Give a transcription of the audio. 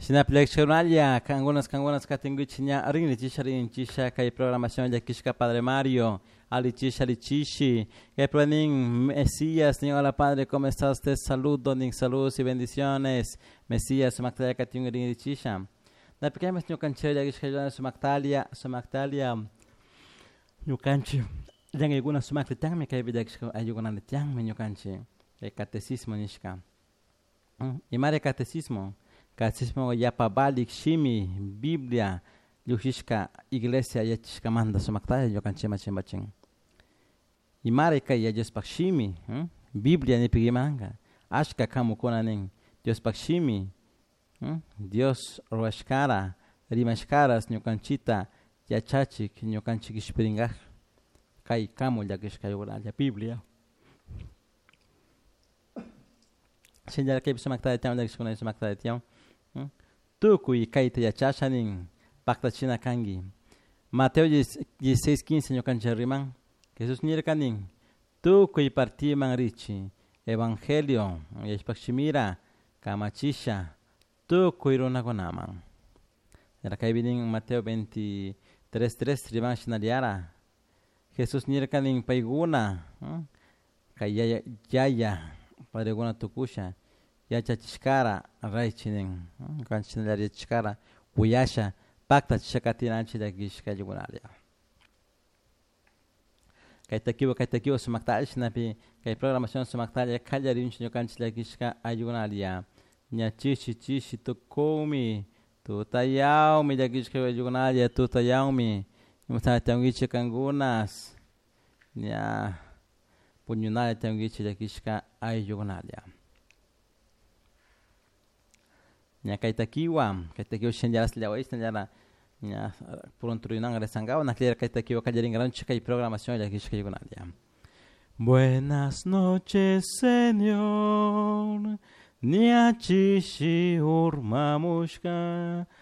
Shinapi llakishkakunalla, kankunas kankunas katinkichik ña rinrichisha rinchisha kay programación llakishka Padre Mario alichisha alichishi kay nin Mesías nin: "Hola, padre, ¿cómo estás? Te saludo", nin. Saludos y bendiciones, Mesías, sumaktalla katin rinrichisha. Napi kaymas ñukanchik llakishka sumaktalia sumaktalia ñukanchik llankaykuna sumakta tiyanmi kaypi llakishka ayllukunata tiyanmi ñukanchik kay catecismo nishka. Imari catecismo? Catecismo yapa valik shimi Biblia llukshishka iglesia yachishkamanta sumaktalla ñukanchikman chimpachin. Imari kay Yaya Diospaj shimi Biblia nipika imanka ashka kamukuna nin Diospaj shimi, Dios rurashkara rimashkaras ñukanchikta yachachik ñukanchik kishpirinkaj kay kamu llakishka ayllukuna Biblia. Shinallara kaypi sumaktalla tiyan llakishkuna sumaktalla tiyan tukuy kayta yachasha nin paktachina kanki. Mateo 16:15 ñukanchik riman Jesús nirka nin: "Tukuy partiman richi evangelio yachpak shimira kamachisha tukuy runakunaman". Kaypi nin Mateo 23:3 riman shinallara Jesús nirka nin paykuna kay yaya yaya padrekuna tukusha yachachishkara raychi nin ñukanchik shinallara yachashkara uyasha paktachisha katinanchik llakishka ayllukunalla. Kay takiwa sumaktalla shinapi kay programación sumaktalla kallarinchik ñukanchik llakishka ayllukunalla ña chishi chishi tukumi tutayawmi llakishka ayllukunalla tutayawmi imashnata tiyankichik kankunas ña puñunalla tiyankichik llakishka ayllukunalla. Ña kay takiwa shinallara shinallara ña pronto rinan rezankawa nakllera kay takiwa kallarinkaranchik kay programación llakishka ayllukunalla. Buenas noches, Señor, ña chishi urmamushka.